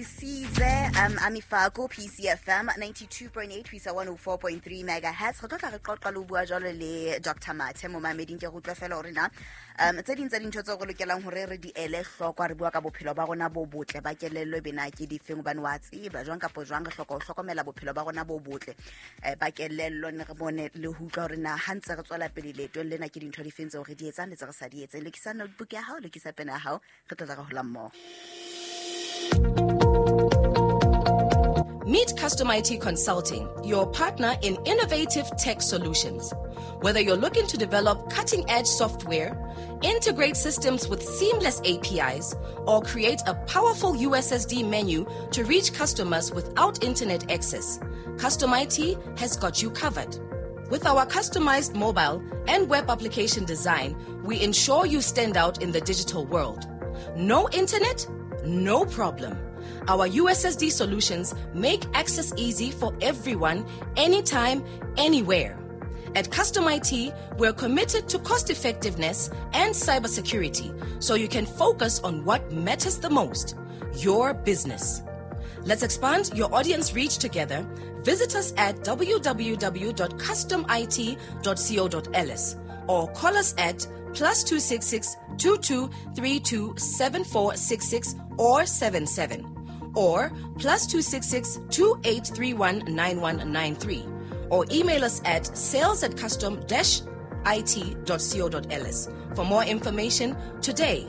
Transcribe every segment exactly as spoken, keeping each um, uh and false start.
Size um Amifako P C F M ninety-two point eight ho isa one oh four point three megahertz. Re tlo tla re qoqa le ho bua jwalo le Doctor Mathe momameding. Ke re utlwe fela hore na um tse ding tsa dintho tseo re lokelang hore re di ele hloko ha re bua ka bophelo ba rona bo botle ba kelello e bena ke difeng, hobane wa tseba jwang kapa jwang re hloka ho hlokomela bophelo ba rona bo botle eh, ba kelello, ne re bone le ho utlwa hore na ha ntse re tswela pele leetong lena ke dintho difeng tseo re di etsang le tse re sa di etseng. Lokisa notebook ya hao, lokisa pene ya hao, re tlo tla re hola mmoho. Meet Custom I T Consulting, your partner in innovative tech solutions. Whether you're looking to develop cutting-edge software, integrate systems with seamless A P Is, or create a powerful U S S D menu to reach customers without internet access, Custom I T has got you covered. With our customized mobile and web application design, we ensure you stand out in the digital world. No internet? No problem. Our U S S D solutions make access easy for everyone, anytime, anywhere. At Custom I T, we're committed to cost effectiveness and cybersecurity, so you can focus on what matters the most, your business. Let's expand your audience reach together. Visit us at w w w dot custom I T dot co dot l s or call us at plus two six six two two three two seven four six six or seven seven or plus two six six two eight three one nine one nine three or email us at sales at custom dash I T dot co dot l s for more information today.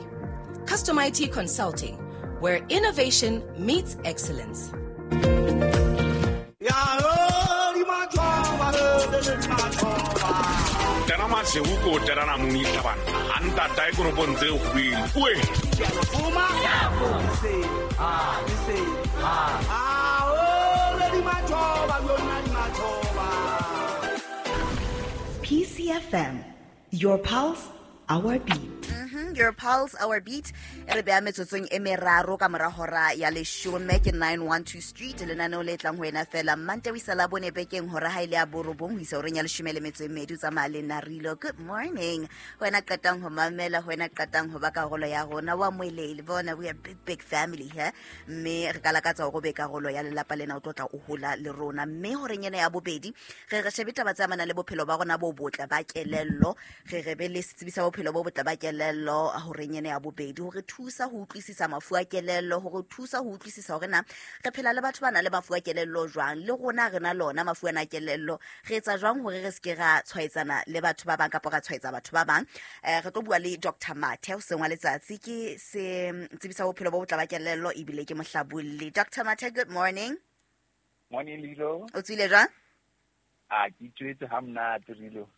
Custom I T Consulting, where innovation meets excellence. P C F M, your pulse, our beat. Mm-hmm. Your pulse, our beat. E re beha metsotsong e meraro ka mora hora ya leshome ke nine one two Street. Lenaneo le tlang ho wena fela Mante ho isa Labone bekeng hora ha ile ya borobong ho isa horeng ya leshome le metso e mmedi. O tsamaya le Narilo. Good morning. Ho wena qetang ho mamela, ho wena qetang ho ba karolo ya rona wa moelele. Bona, we are big big family here. Mme re ka lakatsa hore o be karolo ya lelapa lena, o tlo tla o hola le rona. Mme horeng ena ya bobedi re re shebe taba tse amanang le bophelo ba rona bo botle ba kelello. Re re be le setsebi sa bophelo bo botle ba kelello horeng ena ya bobedi hore thusa ho utlwisisa mafu a kelello, hore thusa ho utlwisisa hore na re phela le batho ba nang le mafu a kelello jwang, le rona re na lona mafu ana a kelello, re etsa jwang hore re se ke ra tshwaetsana le batho ba bang kapa ra tshwaetsa batho ba bang. Eh, re tlo bua le Doctor Mathe hoseng wa letsatsi, ke se tsebisa bophelo bo botle ba kelello ebile ke mohlabolli. Doctor Mathe, good morning. Morning, Lilo. O tswile jwang? Ah, ke tswetse ha monate, Lilo.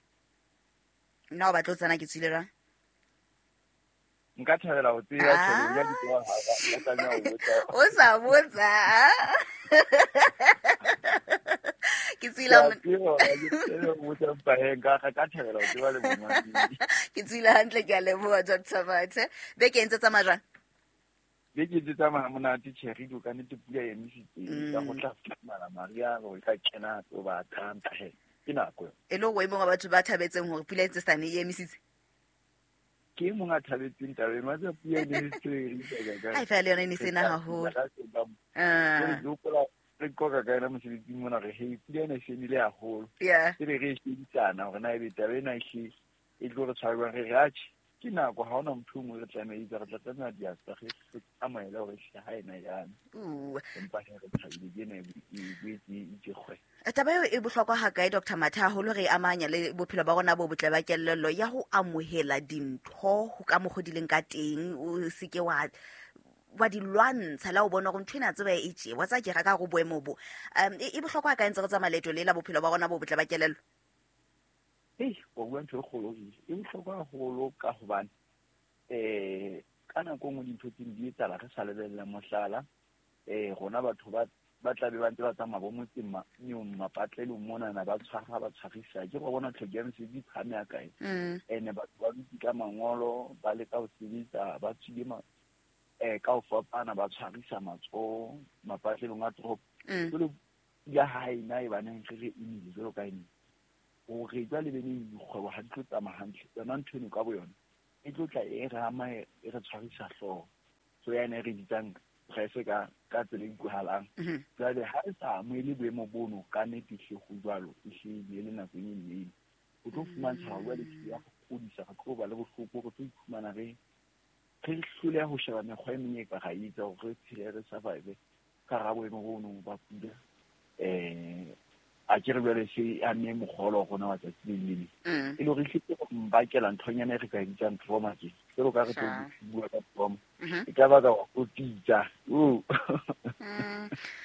Nna o batla ho tsena ke tswile jwang? Nka thabela ho tseba tjhelete ya ditaba ha ka tlameha ho botsa. O sa botsa. Ke tswile Ke tswile hantle, ke a leboha Doctor Mathe. Beke e ntse tsamaya jwang? Beke e ntse tsamaya monate, tjhe, ka nnete pula e emisitse. Ka go tla fumana Maria go ka kena tso ba thanta he. Ke nako. E le o e mong wa batho ba thabetseng hore pula e ntse sane e emisitse? Ke mong a thabetseng taba eno, wa tseba pula e ne e se e ka. Ai fela le yona e ne se na haholo. Ah. Re qoqa ka yona mosebetsing mona re hey, pula ena e senile haholo. Yeah. E re re shebisana hore na ebe taba ena e hle e tlo re tshwara jwang. Re re atjhe, ke nako ha hona motho o mongwe re tlameha re tla tlameha diasa re amohele hore hle ha ena yana. Empa he re thabile ke ena e boetse e itse kgwe. Taba eo e bohlokwa hakae Doctor Mathe, haholo re amanya le bophelo ba rona bo botle ba kelello ya ho amohela dintho ho ka mokgo di leng ka teng, o se ke wa wa di lwantsha la o bona hore ntho ena tseba e tje wa tsa ke ra ka go boemo bo. Um e bohlokwa hakae ntse re tsamaya leeto le la bophelo ba rona bo botle ba kelello? Hei, o bua ntho e kgolo e bohlokwa haholo ka hobane eh ka nako nngwe dintho tse di etsahala re sa lebella. Mohlala, eh rona batho ba ba tla be ba ntse ba tsamaya bo motseng mapatlelong monana ba tshwara ba tshwarisa ke go bona tlhoko ya mesebetsi e phahame ya kae. Ene batho ba dutse ka mangolo ba leka ho sebetsa ba tswile eh ka ho fapana ba tshwarisa matsoho mapatlelong a toropo. Jwale ya hae na e baneng re re emile jwalo ka ene hore jwale beneng dikgwebo ha di tlo tsamaya hantle, yona ntho eno ka boyona e tlo tla e re ama e re tshwarisa hlooho. So yana e re bitsang stress ka ka tsela e utlwahalang. Jwale ha re sa amohele boemo bono ka nnete hle ho jwalo, e hlile e le nako e nnyane. O tlo fumantsha hore jwale ke ya go kodisa, re tlo ba le bohloko, re tlo iphumana re re hloleha ho sheba mekgwa e meng e ka ra etsa hore re phele re survive ka hara boemo bono ba pula. Eh a ke re jwale se amme mokgolo wa rona wa tsatsi le leng. E le hore ehlile go mbakela nthonyana e re ka e bitsang trauma ke. Jwalo ka re tlo bua ka trauma. E ka baka wa kotitsa.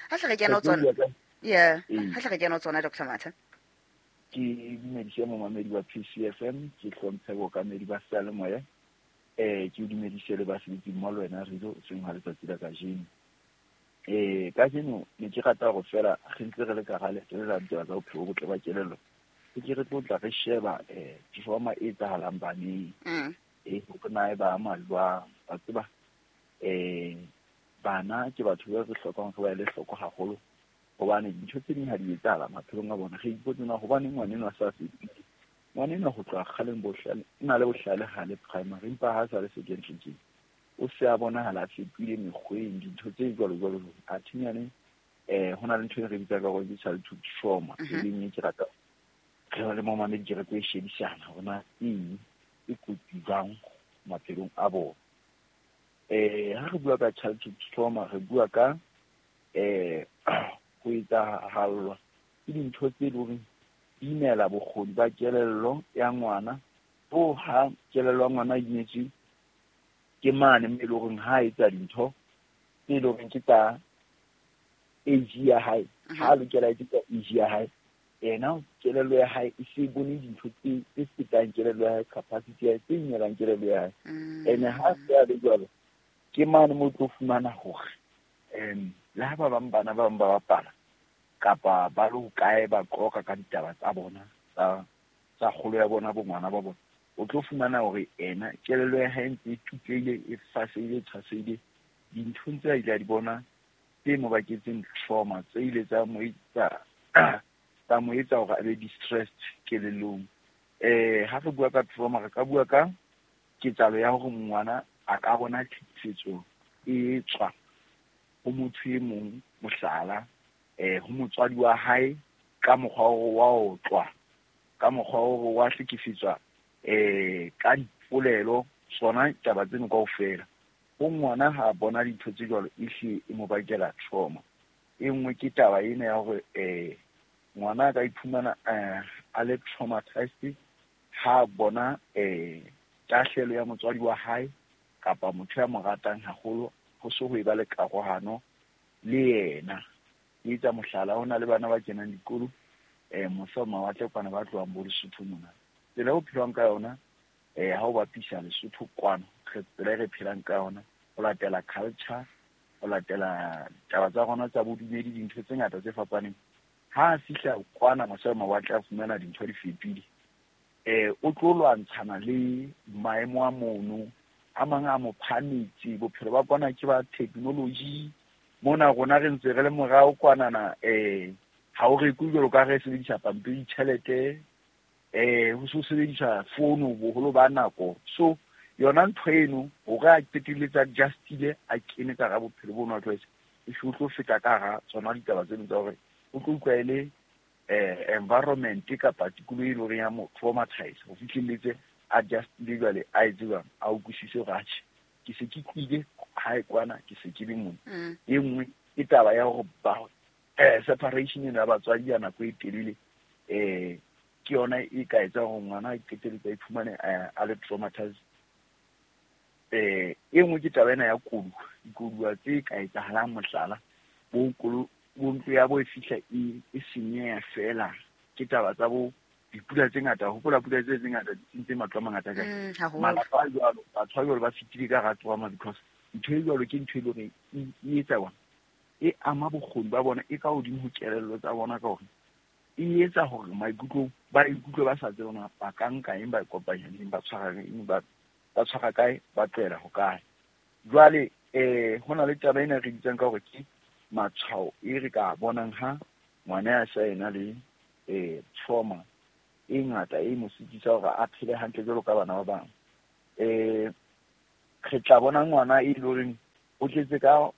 Ha hle re kena ho tsona. Yeah, ha hle re kena ho tsona Doctor Mathe. Ke dumedise momamedi wa P C F M, ke hlomphe bookamedi ba seyalemoya. Eh ke dumedise le basebetsi mmoho le wena Rido seng ha letsatsi la kajeno. Eh kajeno ne ke rata hore fela re ntse re le ka hara leeto la ditaba tsa bophelo bo botle ba kelello. Ke ke re tlo tla re sheba eh trauma e etsahalang baneng. Eh hore na e ba ama jwang. Wa tseba eh bana ke batho ba re hlokang re ba ele hloko haholo. Hobane dintho tse ding ha di etsahala maphelong a bona, re ipotse na hobaneng ngwana enwa a sa fetile. Ngwana enwa ho tloha kgaleng bohlale, o na le bohlale ha le primary, empa ha sa le secondary tje, o se a bonahala a fetohile mekgweng, dintho tse jwalo jwalo. Athinyane eh ho na le ntho e re bitsang ka hore ke childhood trauma, e leng e ke rata re le momamedi ke re tlo e shebisana hore na eng e kotsi jwang maphelong a bona. Eh ha re bua ka childhood trauma, re bua ka eh ho etsahallwa ke dintho tse leng hore di imela bokgoni ba kelello ya ngwana. Bo ha kelello ya ngwana e imetswe ke mane mme e leng hore ha etsa dintho tse leng hore ke tsa age ya hae, ha lokela etse tsa age ya hae, yena kelello ya hae e se bone dintho tse tse fetang kelello ya hae, capacity ya hae, tse imelang kelello ya hae. Ene ha se a le jwalo, ke mane mo tlo fumana hore em le ha ba bang bana ba bang ba bapala kapa ba le hokae ba qoqa ka ditaba tsa bona tsa tsa kgolo ya bona bo ngwana ba bona, o tlo fumana hore ena kelello ya hae ntse e tutlehile, e fasehile, e tshwasehile dinthong tse a ile a di bona tse mo baketseng trauma, tse ile tsa mo etsa tsa mo etsa hore a be distressed kelellong. Eh ha re bua ka trauma, re ka bua ka ketsahalo ya hore ngwana a ka bona tlhekefetso e tswa ho motho e mong, mohlala eh ho motswadi wa hae ka mokgwa wa otlwa, ka mokgwa wa hlekefetswa eh ka dipolelo, tsona taba tseno kaofela. Ho ngwana ha bona dintho tse jwalo, ehlile e mo bakela trauma. E nngwe ke taba ena ya hore eh ngwana a ka iphumana a le traumatized ha bona eh tahlelo ya motswadi wa hae kapa motho ya mo ratang haholo, ho so ho eba le karohano le yena. Ke etsa mohlala, ho na le bana ba kenang dikolo eh mose mawatle kwana ba tlohang bo Lesotho mona. Tsela eo phelwang ka yona eh ha o bapisa Lesotho kwano, re tsela e re phelang ka yona, ho latela culture, ho latela taba tsa rona tsa bodumedi, dintho tse ngata tse fapaneng. Ha a fihla kwana mose mawatle a fumana dintho di fetohile, eh o tlo lwantshana le maemo a mono, a mang a mo phahametse. Bophelo ba kwana ke ba technology, mona rona re ntse re le morao kwanana. Eh ha o rekwe jwalo ka re sebedisa pampiri tjhelete, eh ho so sebedisa fono boholo ba nako. So yona ntho eno hore a qetelletse adjustile, a kene ka hara bophelo bono a tlwaetse, e o tlo feta ka hara tsona ditaba tseno tsa hore o tlo utlwa e le eh environment kapa tikoloho e leng hore ya mo traumatize ho fihlelletse adjustile jwale a etse jwang, a utlwisise hore atjhe ke se ke tlile hae kwana, ke se ke le mona. E nngwe ke taba ya hore ba eh separation ena ya batswadi ya nako e telele eh ke yona e ka etsang hore ngwana a qetelletse a iphumane a le traumatized. Eh e nngwe ke taba ena ya koduwa, dikoduwa tse ka etsahalang, mohlala bo kolo bo ntlo ya bo e fihla e e senyeha fela ke taba tsa bo dipula tse ngata. Hopola pula tse tse ngata di sentse matlo a mangata kae, malapa a jwalo, batho ba jwalo ba fetile ka hara trauma because ntho e jwalo ke ntho e leng hore e etsa bona, e ama bokgoni ba bona, e ka hodimo ho kelello tsa bona, ka hore e etsa hore maikutlong ba ikutlwe ba sa tsebe hore ba ka nka eng, ba kopanya eng, ba tshwara eng, ba ba tshwara kae, ba tlohela ho kae. Jwale eh ho na le taba ena re bitsang ka hore ke matshwao e re ka bonang ha ngwana ya sa ena le eh trauma e ngata e mo sitisa hore a phele hantle jwalo ka bana ba bang. Eh re tla bona ngwana e leng hore o tletse ka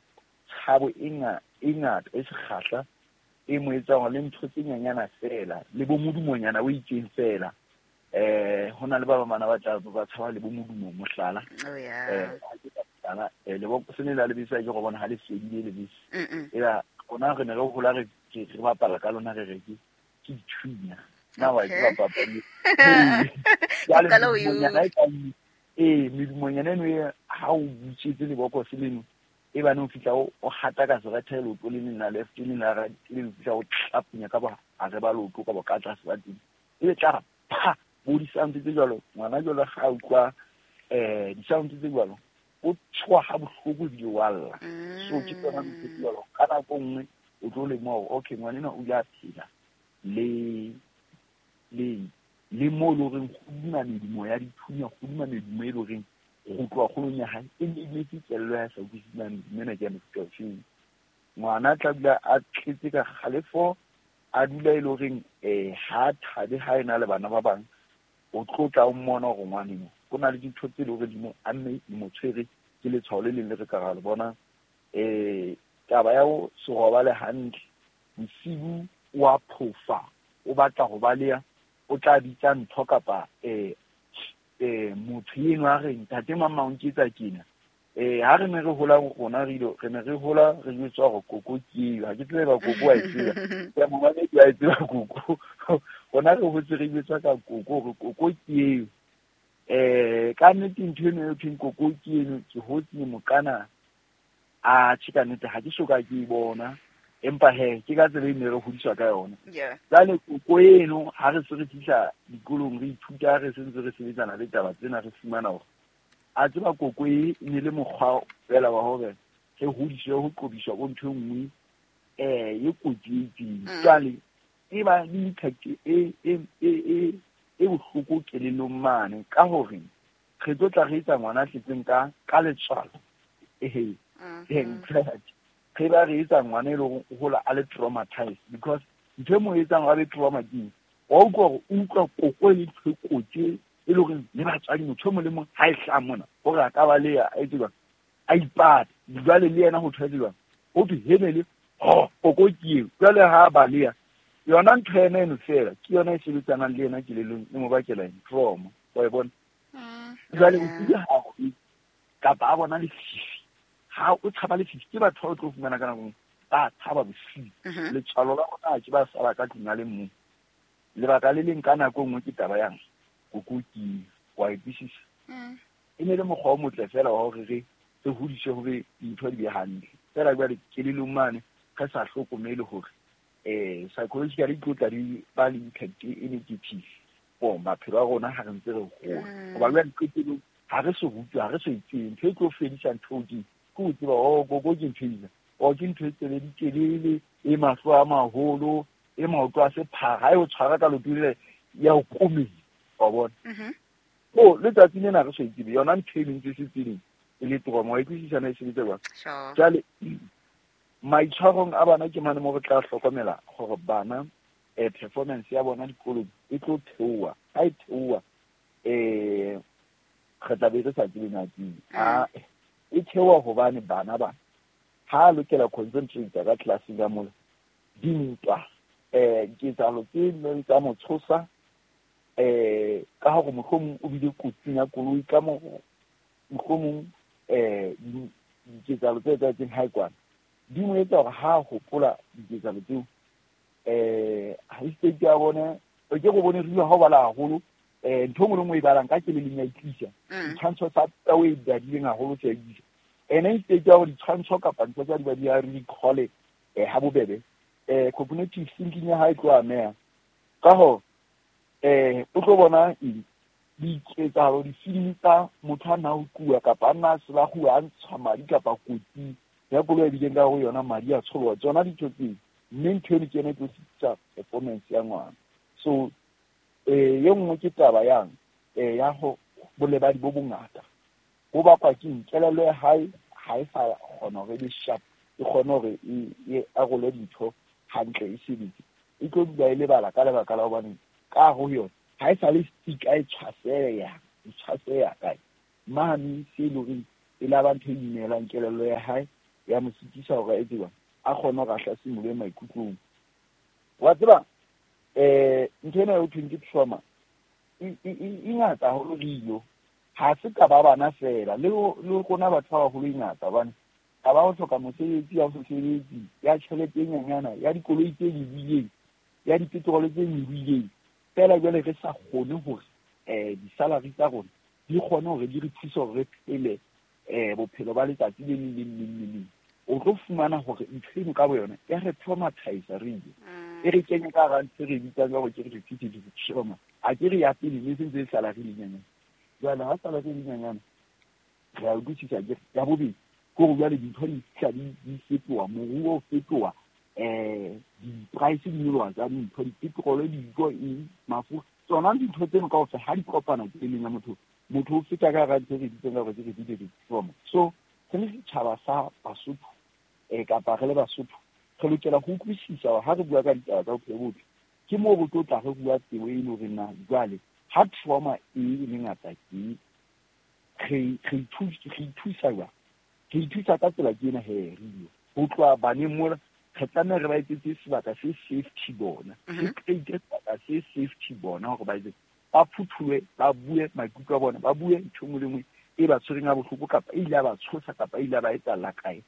tshabo e ngata e sekgahla e mo etsang le ntho tse nyanyana fela le bo modumonyana o itseng fela eh hona le ba ba mana ba tla ba tshaba le bo modumo mohlala oh yeah eh eh le bo sene la lebese ke go bona ha le fedile lebese ela rona re ne re hola re re bapala ka lona re re ke ke dithunya na wa ke bapala eh medumonyana eno e ha o butsetse lebokose leno e bane o fihla o hata ka serethe leoto le leng la left le la right le fihla o tlapunya ka ba hare ba leoto ka bo ka tlase ba teng e be tla pha bo di-sound tse jwalo ngwana jwalo ga utlwa eh di-sound tse jwalo o tshoha ha bohloko ebile wa lla. So ke tsona ntho tse jwalo ka nako nngwe o tlo lemoha hore okay ngwana enwa o ile a phela le le le mo le horeng hodima medumo ya dithunya hodima medumo e le horeng go tloha kgolong ya hae e ne e kelello ya sa utlwisisa medumo ena ke ya mofuta ofeng. Ngwana tla dula a tletse ka kgalefo a dula e le horeng um ha thabe ha ena le bana ba bang o tlo tla o mmona hore ngwaneno ho na le dintho tse le hore di mo amme di mo tshwere ke letshwao le leng le re ka ra le bona. Um taba ya ho se robale hantle bosibu o a phofa o batla ho baleha o tla bitsa ntho kapa um eh motho eno a re ntate mama o nketsa kena eh ha re ne re hola rona re ile re ne re hola re jwetswa hore koko ke eo ha ke tsebe ba koko wa e tseba ya momamedi wa e tseba koko rona re hotse re jwetswa ka koko hore koko ke eo eh ka nnete ntho eno e thweng koko ke eno ke hotse mokana a tjhe ka nnete ha ke soka ke e bona empa he ke ka tsela e ne re hodiswa ka yona. Jwale koko eno ha re se re fihla dikolong re ithuta re sentse re sebetsana le taba tsena re fumana hore a tseba koko e ne le mokgwa fela wa hore re hodiswe ho qobiswa ko ntho e nngwe eh e kotsi e itseng. Jwale e ba le impact e e e e bohloko kelellong mane ka hore re tlo tla re etsa ngwana a tletseng ka ka letswalo ehe re ba re etsa ngwana e leng o hola a le traumatized because ntho e mo etsang a be trauma ke wa utlwa hore o utlwa koko e le ntho e kotsi e le hore le batswadi motho e mong le mong ha e hlaha mona hore a ka baleha a etse jwang a ipata jwale le yena ho thwe jwang ho thwe hene ho koko ke eo jwale ha a baleha yona ntho ena eno fela ke yona e sebetsanang le yena kelellong e mo bakela trauma wa e bona. Jwale o tsile ha kapa a bona lefifi ha o tshaba lefifi ke batho ba o tlo fumana ka nako ba tshaba bosiu letswalo la bona ke ba sala ka tlung a le mong. Lebaka le leng ka nako nngwe ke taba yang koko ke wa e utlwisisa e ne le mokgwa o motle fela wa hore re re hodiswe hore dintho di be hantle fela jwale kelellong mane re sa hlokomele hore eh psychologically tlo tla di ba le impact e negative for maphelo a rona ha re ntse re hola hoba jwale qetellong ha re so rutwe ha re so itsebe ntho e tlo fedisa ntho ke ke o tseba oh koko ke ntho ena o ke ntho e tsebe ditelele e mahlo a maholo e maoto a sephara ha e o tshwara ka leoto le ya o komela wa bona. O letsatsi lena re so itsebe yona ntho e ntse se tseleng e le trauma wa utlwisisa na e sebetsa jwang. Jwale maitshwarong a bana ke mane mo re tla hlokomela hore bana eh performance ya bona dikolong e tlo theoha ha e theoha eh re tla be re sa tsebe na ke a e theoha hobane bana ba ha lokela concentrate ka classeng ka mola dintwa eh diketsahalo tse neng tsa mo tshosa eh ka hore mohlomong o bile kotsing ya koloi ka mo mohlomong eh diketsahalo tse etsahetseng hae kwana di mo etsa hore ha hopola diketsahalo tseo eh ha state ya bona o ke go bone re ha o bala haholo eh ntho nngwe le nngwe e balang ka keleleng ya itlisa ditshwantsho tsa tsa o e badileng haholo tse itlisa ene state ya hore ditshwantsho kapa ntho tsa di ba di ya recall eh ha bobebe eh cognitive thinking ya hae tlo ameha ka ho eh o tlo bona diketsahalo difilimi tsa motho a na utlwa kapa a na selaguwa a ntsha madi kapa kotsi ya koloi e bileng ka ho yona madi a tsholoha tsona dintho tseo mme ntho eno ke yona e tlo sitisa performance ya ngwana. So eh ye nngwe ke taba yang eh ya ho bolebadi bo bongata bo bakwa ke kelello ya hae ha e sa kgona hore e be sharp e kgone hore e arole dintho hantle e sebetse e tlo dula e lebala ka lebaka la hobane ka ho yona ha e sa le stick a e tshwaseya e tshwaseya kae mane se e leng horeng e la ba ntho e imelang kelello ya hae Ya mo sitisa hore a etse jwang, a kgone hore a hlasimolohe maikutlong. Wa tseba eh ntho ena eo thweng ke trauma e e ngata haholo rio. Ha se ka ba bana fela le le rona batho ba baholo e ngata hobane ha ba ho hloka mosebetsi ya ho sebetsi ya tjhelete e nyenyana ya dikoloi tse nyolohileng ya dipetrole tse nyolohileng fela jwale re sa kgone hore eh di-salary tsa rona di kgone hore di re thuse hore re phele eh bophelo ba letsatsi le leng le leng le leng. O tlo fumana hore ntho eno ka boyona ya re traumatize re ile e re kenye ka hara ntho e re bitsang ka hore ke repetitive trauma. A ke re ya pele ne se ntse e salary le nyenyane, jwale ha salary le nyenyane re a utlwisisa ke ya bobedi ke hore jwale dintho di fihla di di fetoha, moruo o fetoha, eh di-price di nyoloha tsa dintho, dipetrole, dijo, eng, mafura, tsona dintho tseno kaofela ha di kopana kelellong ya motho, motho o feta ka hara ntho e re bitsang ka hore ke repetitive trauma. So re le setjhaba sa Basotho eh kapa re le Basotho re lokela ho utlwisisa hore ha re bua ka ditaba tsa bophelo bo botle ke moo re tlo tla re bua tsebo e leng hore na jwale ha trauma e le ngata ke re re ithusa jwang, re ithusa ka tsela ke ena he rio ho tloha baneng mola re tlameha re ba etsetse sebaka se safety bona, re create sebaka se safety bona hore ba etse ba phuthuwe, ba bue maikutlo a bona, ba bue ntho e nngwe le nngwe e ba tshwereng ha bohloko kapa e ile ya ba tshosa kapa e ile ya ba etsahalla kae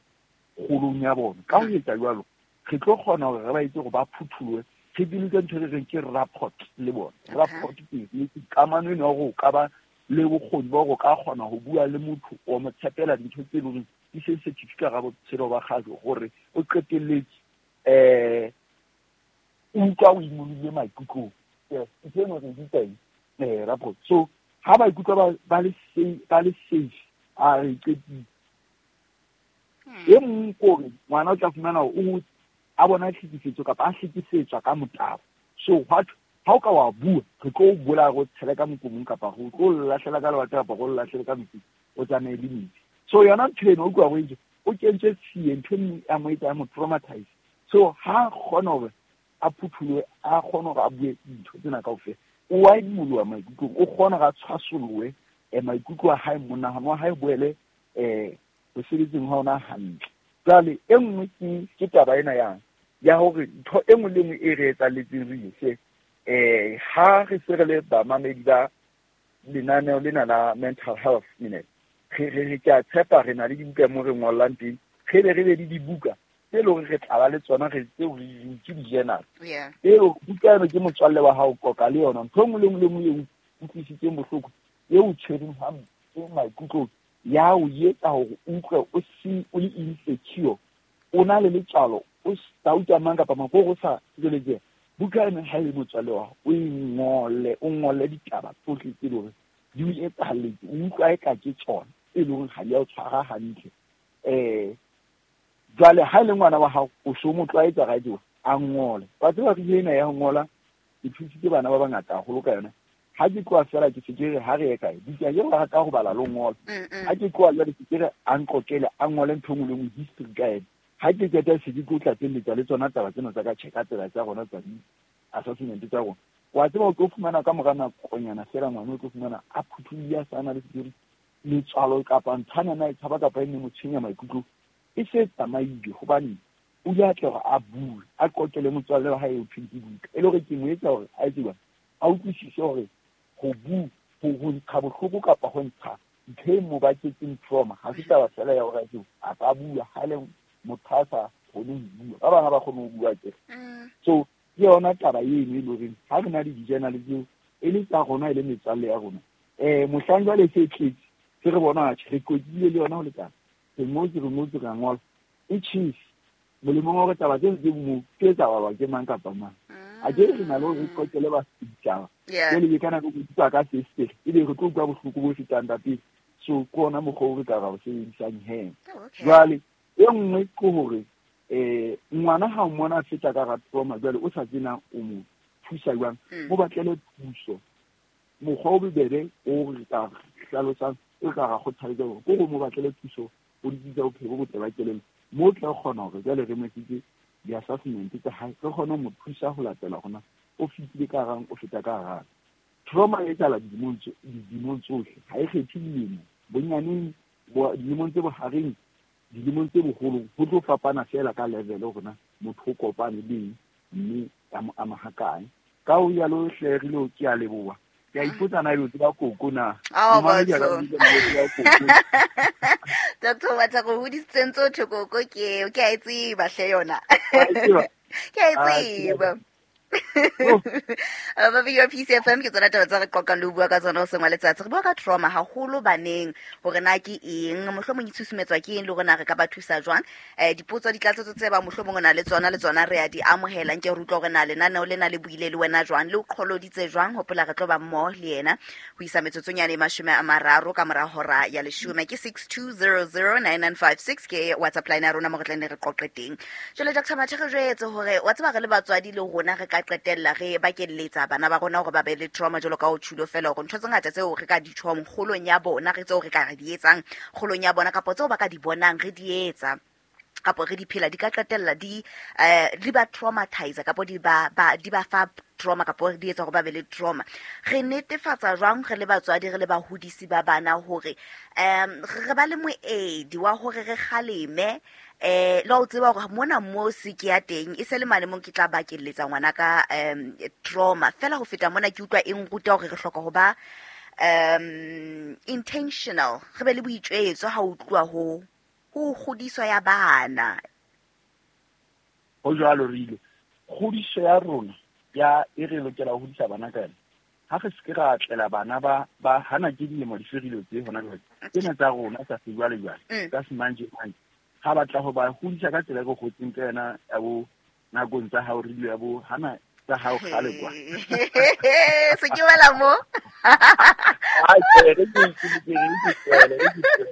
kgolong ya bona. Ka ho etsa jwalo re tlo kgona hore re ba etse hore ba phuthuwe, re build ntho e re reng ke rapport le bona. Rapport ke kamano eno ya hore o ka ba le bokgoni ba hore o ka kgona ho bua le motho o mo tshepela dintho tse leng hore di sensitive ka hara botshelo ba kgale hore o qetelletse eh o utlwa o imolohile maikutlong. Ntho eno re bitsa eng? Eh rapport. So ha ba ikutlwa ba ba le safe, ba le safe, a re qetile. E mong kore ngwana o tla fumana hore o a bona tlhekefetso kapa a hlekefetswa ka motabo. So what ha o ka wa bua re tlo o bolaya re o tshele ka mokomong kapa re tlo o lahlela ka lewatle kapa re o lahlele ka metsing o tsamaye le metsi. So yona ntho eno o utlwa hore o kentswe tshie ntho e ya mo etsa ya mo traumatize. So ha kgona hore a phuthulohe, a kgone hore a bue dintho tsena kaofela, o a imoloha maikutlong, o kgona hore a tshwasolohe maikutlo a hae, monahano wa hae boele eh ho sebetseng ha ona hantle. Jwale e nngwe ke ke taba ena ya ya hore ntho e nngwe le nngwe e re etsahalletseng re hle eh ha re se re le bamamedi ba lenaneo lena la mental health minute, re re re ke a tshepa re na le dibuka mo re ngollang teng, re be re be le dibuka tse leng hore re tla ba le tsona re tseo re ke di-journal. Eo buka eno ke motswalle wa hao qoqa le yona ntho e nngwe le nngwe le nngwe eo utlwisitseng bohloko eo o tshwereng hampe maikutlong ya o etsa hore o utlwe o se o le insecure, o na le letswalo, o sa utlwa mang kapa mang, o sa tshireletseha. Buka eno ha e le motswalle wa hao o e ngole, o ngole ditaba tsohle tse leng hore di o etsahalletse, o utlwa eka ke tsona e leng hore ha di a o tshwara hantle. Eh jwale ha e le ngwana wa hao o so mo tlwaetsa radio a ngole. Wa tseba re ena ya ho ngola ke thusitse bana ba bangata haholo ka yona. Ha ke tloha fela ke se ke re ha re ye kae buka ke ba rata ho bala le ho ngola. Ha ke tloha jwale ke re a nqoqele a ngole ntho e nngwe le nngwe history ka ena. Ha ke qeta se ke tlo tlatselletsa le tsona taba tsena tsa ka check-a tsela tsa rona tsa di-assessment tsa rona. Wa tseba o tlo fumana ka mora nakonyana fela ngwana o tlo fumana a phuthulohile a sa na le sekiri letswalo kapa nthwana e tshaba kapa e ne mo tshwenya maikutlo e se tsamaile hobane o ile a tla hore a bue a qoqele motswalle wa hae o thweng ke buka e le hore ke mo etsa hore a etse jwang a utlwisise hore ho bua ho ho ntsha bohloko kapa ho ntsha ntho e mo baketseng trauma ha se taba fela ya hore a tsebe a ka bua ha le motho a sa kgone ho bua ba bang ha ba kgone ho bua akere. So ke yona taba eno e le horeng ha re na le di-journal tseo e le tsa rona e le metswalle ya rona eh mohlang jwale se tletse se re bona atjhe re qoqile le yona ho lekana re ngotse re ngotse ra ngola e tjhese molemong wa hore taba tseno tse mo ke tsa balwa ke mang kapa mang. A ke re na le hore re qoqele ba setjhaba jwale ke kana ke utlwa ka se ebe re tlo utlwa bohloko bo fetang ba pele. So ke ona mokgwa o re ka ra o sebedisang he. Jwale e nngwe ke hore eh ngwana ha o mmona a feta ka hara trauma jwale o sa tsena o mo thusa jwang, mo batlele thuso. Mokgwa o bobebe o re ka hlalosang o ka ra kgothaletsa hore ke hore mo batlele thuso ho ditsi tsa bophelo bo botle ba kelello mo tla kgona hore jwale re mo etsetse di-assessment tsa hae re kgone ho mo thusa ho latela hore na o fetile ka harang o feta ka harang. Trauma e etsahala dilemong dilemong tsohle ha e kgethe dilemo bonyaneng dilemong tse bohareng Dilemong tse boholong ho tlo fapana fela ka level hore na motho o kopane le eng mme a mo ama hakae. Ka ho yalo hle re lo ke a leboha. Ke a ipotsa na ebe o tseba koko na. Ao, Momamedi a ka batho. botsa na o tseba koko. Doctor Mathe go hodisitseng tse thwe koko ke eo, ke a e tseba hle yona. Wa e tseba? Ke a e Ah, ke tseba. Oh. Ba B P C F M ke tsona taba tsa re qoqang le ho bua ka tsona hoseng wa letsatsi. Re bua ka trauma haholo baneng, hore na ke eng, mohlomong e tshusumetswa ke eng, le hore na re ka ba thusa jwang. Eh, dipotso ditlatsetso tse ba mohlomong o na le tsona le tsona re a di amohela. Nke re utlwa hore na lenaneo lena le buile le wena jwang, le o qholoditse jwang. Hopola re tlo ba mmoho le yena ho isa metsotsong yane e mashome a mararo ka mora hora ya leshome. Ke six two zero zero nine nine five six ke WhatsApp line ya rona mo re tla nne re qoqe teng. Jwale Doctor Mathe, re jwetse hore wa tseba re le batswadi le rona re ka qetella re bakelletsa bana ba rona hore ba be le trauma jwalo ka ho tjhulo fela, hore ntho tse ngata tseo re ka di tjhong kgolong ya bona, re tseo re ka re di etsang kgolong ya bona, kapa tseo ba ka di bonang re di etsa kapo re di phela, di ka qetella di, eh, di ba traumatize kapo di ba, ba, di ba fa trauma kapo di etsa hore ba be le trauma. Re netefatsa jwang re le batswadi, re le bahodisi ba bana hore, em, re ba le moedi wa hore re kgaleme, eh, le ho tseba hore mona mo se ke ya teng e se le mane mo ke tla bakelletsa ngwana ka, em, trauma. Fela ho feta mona ke utlwa e nruta hore re hloka ho ba, em, intentional, re be le boitjwetso ha o tluwa ho, ho kgodiso ya bana. Ho jwalo re ile. Kgodiso ya rona ya e re lokela ho hodisa bana ka yona. Ha re se ke ra tlela bana ba, ba hana ke dilemo di ferile tse hona jwale. Tsena tsa rona tsa sejwalejwale, Mm. tsa semanjemanje. Ha batla ho ba hodisa ka tsela e re hotseng ka yona ya bo nakong tsa hao re ile ya bo hana tsa hao kgale kwa. Se ke wela mo. Ai, ke re ke ke ke ke ke ke ke.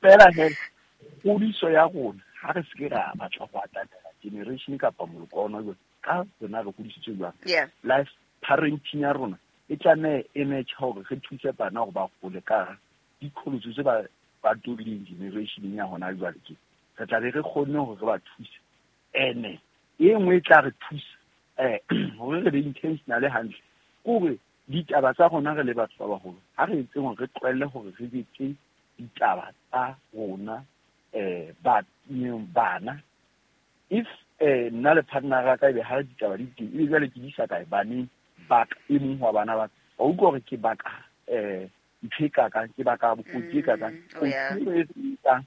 Fela he, kgodiso ya rona ha re se ke ra batla ho atamela generation kapa moloko wa hona jwale, ka rona re hodisitswe jwang. Yeah. Life parenting ya rona e tlameha e match hore re thuse bana hore ba hole ka diqholotso tse ba, ba tobileng generation ya hona jwale ke. Re tla be re kgonne hore re ba thuse. Ene e nngwe e tla re thusa, eh, hore re be intentional hantle, ke hore ditaba tsa rona re le batho ba baholo, ha re etseng hore re tlohelle hore re betse ditaba tsa rona, eh, ba, bana. If, eh, nna le partner ya ka ebe ha ditaba di teng, ebe jwale ke di isa kae baneng ba ka, e mong wa bana ba ka. Wa utlwa hore ke baka, eh, ntho e kakang, ke baka bokotsi e kakang. Mm, oh, yeah. Kotsi e re etsang,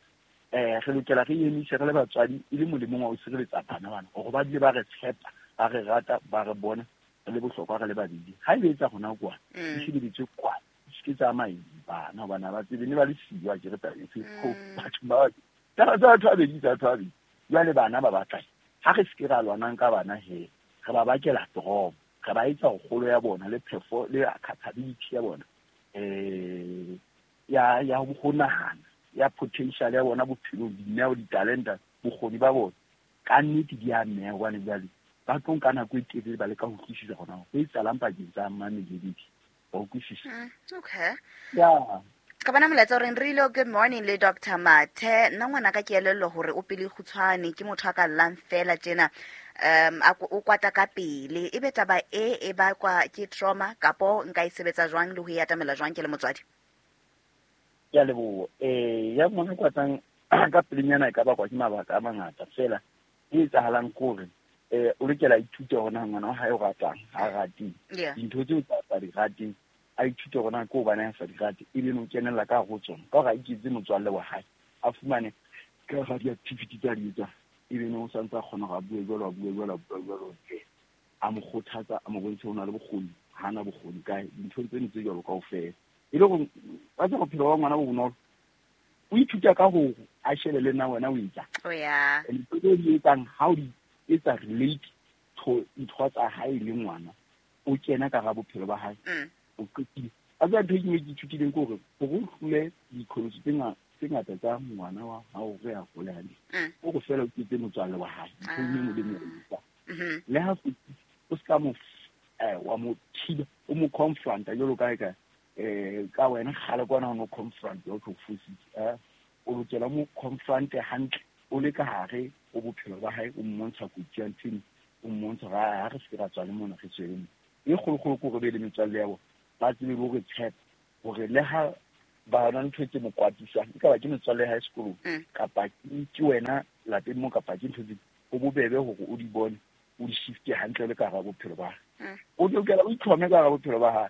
eh, re lokela re emise re le batswadi e le molemong wa ho sireletsa bana bana, hore ba dule ba re tshepa, ba re rata, ba re bona re le bohlokwa re le babedi. Ha ebe etsa hona kwana, Mm. di shebeletswe kwana, di se ke tsa ama bana, hobane ha ba tsebe, ne ba le siyo, ha ke re taba efe, Mm. ho batho ba babedi. Taba tsa batho ba babedi, tsa batho ba babedi. Jwale bana ba batla eng? Ha re se ke ra lwanang ka bana he, re ba bakela trauma, re ba etsa hore kgolo ya bona le phefo le capability ya bona, eh, ya, ya ho nahana, ya potential ya bona bophelong, dineo, ditalenta, bokgoni ba bona, ka nnete di a neha, hobane jwale ba tlo nka nako e telele ba leka ho utlwisisa hore na ho etsahalang pakeng tsa mane le Lady. Wa utlwisisa? Mm, okay. Yeah. Ka bona molaetsa o reng, re ile good morning le Doctor Mathe. Nna ngwana ka ke elellwa hore o pele kgutshwane, ke motho a ka llang fela tjena. Um, a ko-, o kwata ka pele. Ebe taba e, e bakwa ke trauma kapo nka e sebetsa jwang le ho e atamela jwang ke le motswadi? Ke a leboha. Eh, ya ngwana kwatang ka pelenyana e ka bakwa ke mabaka a mangata fela. E etsahalang ke hore, eh, o lokela a ithute hore na ngwana wa hae o ratang, ha a rateng. Yeah. Dintho tseo tsa sa di rateng, a ithute hore na ke hobane a sa di rate, ebe no kenella ka hare ho tsona. Ka hore a iketse motswalle wa hae, a fumane ka hara di-activity tsa di etsang, ebe no o santse a kgona hore a bue jwalo, a bue jwalo, a bue jwalo, a mo kgothatsa, a mo bontshe ho na le bokgoni, ha na bokgoni kae, dintho tseno tse jwalo kaofela. E le hore wa tseba bophelo ba ngwana bo bonolo, o ithuta ka hore a shebe le nna wena o etsang. Oh, yeah. And ntho tseo di etsang, ha o di etsa relate to ntho tsa hae le ngwana, o kena ka hara bophelo ba hae. Mm. O qetile. A tseba ntho e ke ithutileng ke hore, hore o hlole diqholotso tse nga-, tse ngata tsa ngwana wa hao hore a hole hantle. Mm. O re fela o ketse motswalle wa hae, ntho e nngwe le e nngwe o e etsang. Mm-hmm. Le ha o se ka mo f-, eh, wa mo thiba, o mo confronta jwalo ka eka, eh, ka wena kgale kwana o no confront, o tlo fositse, eh, o lokela o mo confronte hantle, o le ka hare ho bophelo ba hae, o mmontsha kotsi ya ntho eno, o mmontsha hore ha re se ke ra tswa le mona, re tswele mona. E kgolokgolo ke hore be le metswalle ya bona, ba tsebe le hore tshepa, hore le ha Ba na ntho tse mo kwatisang e ka ba ke metswalle high school kapa ke wena lapeng mo kapa ke ntho tse o bobebe hore o di bone o di shifte hantle le ka hara bophelo ba hae. O lokela o itlhome ka hara bophelo ba hae.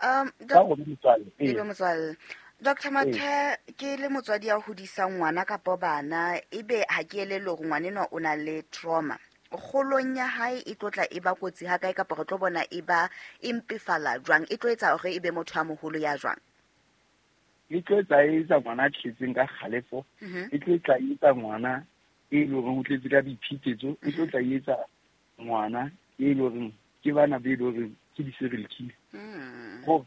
Um ka motswalle Doctor Mathe ke le motswadi ya hodisang ngwana kapa bana ebe ha ke elele hore ngwana o na le trauma. Kgolong ya hae e tlotla e ba kotsi ha kae kapa re tlo bona e ba impefala jwang e tlo etsa hore e be motho a moholo ya jwang? E tlo etsa e etsa ngwana a tletseng ka kgalefo, e tlo etsa e etsa ngwana e leng hore o tletse ka boiphetetso, e tlo tla etsa ngwana e leng hore ke bana be leng hore ke di-serial killer. Ho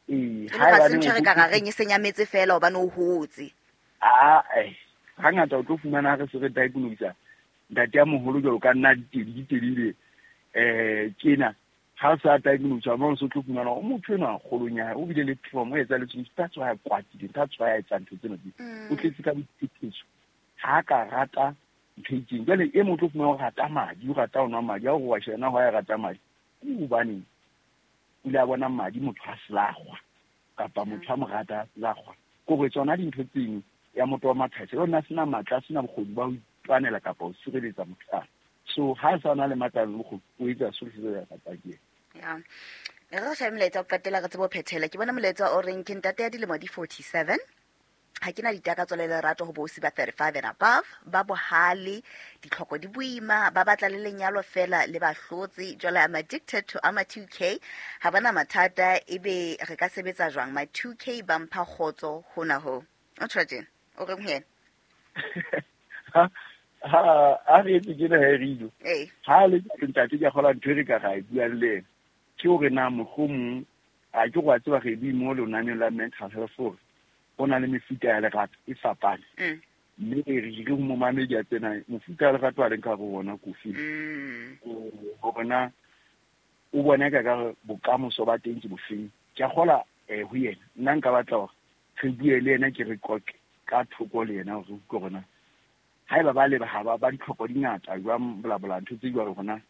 eh ha ba ntho re ka reng e senyametse fela hobane o hotse. Ah eh hangata o tlo fumana re se re diagnose ntate ya moholo jwalo ka nna ditedi ditedile eh tjena ha sa diagnose mo so tlo fumana o motho enwa kgolong ya hae o bile le trauma o etsa le tseng that's why a kwatile that's why a etsa ntho tsena di o tletse ka boiphetetso ha ka rata ntho e itseng. Jwale e motho o fumana o rata madi o rata ho nwa madi a o wa shena ho ya rata madi ke hobane o ile a bona madi motho a selakgwa kapa motho a mo rata a selakgwa kore tsona dintho tseng ya motho wa mathata yona sena matla sena bokgoni ba ho itwanela kapa ho sireletsa motho a so ha sa na le matla le bokgoni o etsa sohle se ya ratang ke ya re shebe molaetsa o qetela re tsebo phethela ke bona molaetsa o reng ke ntate ya dilemo di forty-seven ha ke na ditakatso le lerato ho bosi ba thirty-five and above ba bohale ditlhoko di boima ba batla le lenyalo fela le ba hlotse jwale I'm addicted to ama two K ha bana mathata ebe re ka sebetsa jwang my two K ba mpha kgotso hona ho o tjho o reng ho yena ha ha a re etse ke na herido ha le ntate ke kgola ntho re ka ga e bua le ena ke hore na mohlomong a ke go a tseba re bue mo lenaneo la mental health hore ho na le mefuta ya lerato e fapane mme re re ho momamedi a tsena mofuta ya lerato a leng ka ho bona kofi hore na o bona ka ka bokamoso ba teng ke bofeng ke a kgola eh ho yena nna nka batla hore re bue le yena ke re qoqe ka thoko le yena hore ke rona haeba ba le ba ba ditlhoko di ngata jwang bla bla ntho tse jwalo rona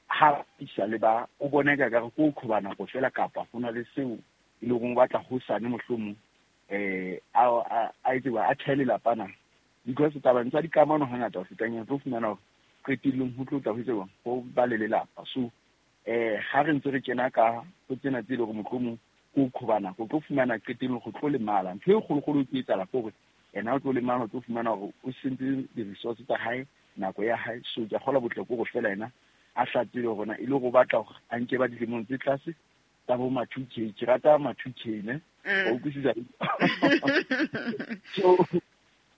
ha isa le ba o bona ka ka go khoba nako fela kapa ho na le seo e leng go batla ho sane mohlomong eh a a itse ba a thele lapana because taba ntsa dikamano hangata ho fetang tlo fumana hore qetellong ho tlo tla ho itse go ba le lelapa so eh ha re ntse re kena ka ho tsena tse le gore mohlomong go khoba nako tlo fumana qetellong go tlo lemala ntho e kgolokgolo ke etsala gore ena o tlo lemala o tlo fumana hore o sentse di-resource tsa hae nako ya hae so ke kgola botle ko go fela ena a hlatsile hore na e le go batla hore a nke ba dilemong tse tlase tsa bo ma two K ke rata ma two K ne o utlwisisa so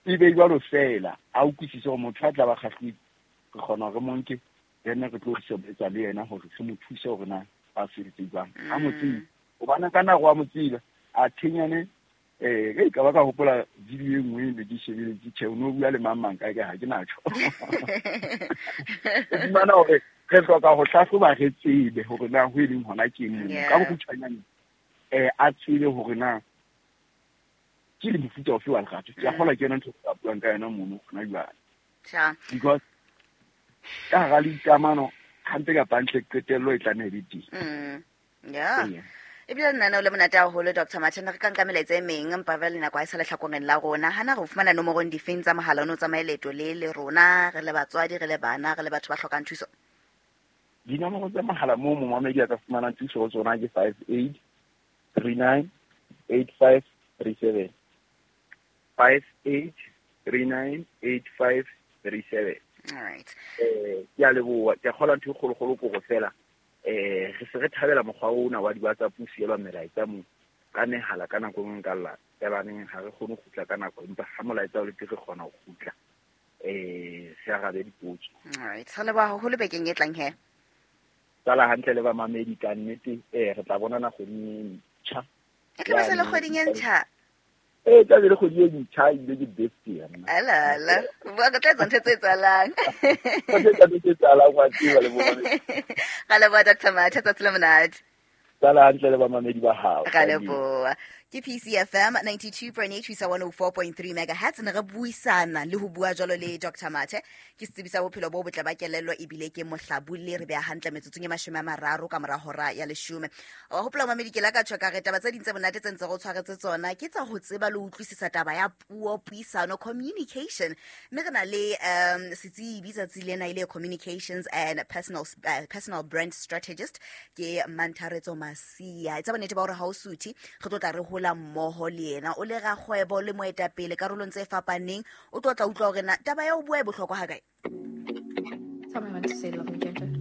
e be jwalo fela a utlwisise hore motho a tla ba kgahlile re kgona hore monke yena re tlo sebetsa le yena hore re mo thuse hore na a sebetse jwang a mo tsebe hobane ka nako a mo tsebe a thenyane eh e ka ba ka hopola video e nngwe ne ke shebeletse tjhe o no bua le mang mang kae ka ha ke natjho fumana hore re hloka ho hlahloba re tsebe hore na ho e leng hona ke eng ka bokgutshwanyane eh a tsebe hore na ke le mofuta ofe wa lerato ke a kgola ke yona ntho e buang ka yona mono hona jwale because ka hara dikamano hampe kapa ntle qetello e tlameha e be teng yeah ebile nna le monate haholo Doctor Mathe re ka nka melaetsa e meng empa ba le nako ha e sa lehlakoreng la rona hana re fumana nomorong difeng tsa mohala o no tsamaye leeto le le rona re le batswadi re le bana re le batho ba hlokang thuso dinomoro tsa mohala moo momamedi a ka fumanang thuso ho tsona ke five eight three nine eight five three seven five eight three nine eight five three seven all right eh ke a leboha ke kgola ntho e kgolokgolo ko go fela eh re se re thabela mokgwa ona wa di-WhatsApp o sielwa melaetsa mo ka mehala ka nako e nngwe ka lla ebaneng ha re kgone ho kgutla ka nako empa ha molaetsa o le teng re kgona ho kgutla eh se arabe dipotso all right re leboha haholo bekeng e tlang he sala hantle le bamamedi ka nnete eh re tla bonana kgweding e ntjha e tla ba se le kgweding e ntjha eh tla be le kgwedi e ntjha ebile ke birthday ya nna ala ala bua ka tla etsa ntho tse etsahalang tse tse etsahalang wa tseba le bona ra leboha Doctor Mathe tsatsi le monate sala hantle le bamamedi ba hao ra leboha. Ke P C F M ninety-two point eight ho isa one oh four point three megahertz. Ne re buisana le ho bua jwalo le Doctor Mathe, ke setsebi sa bophelo bo botle ba kelello ebile ke mohlabulli. Re beha hantle metsotsong e mashome a mararo ka mora hora ya leshome. Wa hopola, mamedi, ke la ka tjho ka re taba tse ding tse monate tse ntse re o tshwaretse tsona ke tsa ho tseba le ho utlwisisa taba ya puo, puisano, communication, mme re na le um setsebi tsatsi lena e le communications and personal, uh, personal brand strategist, ke Mantharetso Masia. E tsa bonnete ba hore ha o suthe, re tlo tla re hola mmoho le yena. O le rakgwebo le moetapele karolong tse fapaneng. O tlo tla utlwa hore na taba ya ho bua e bohlokwa hakae. Tell me when to say "love me gentle."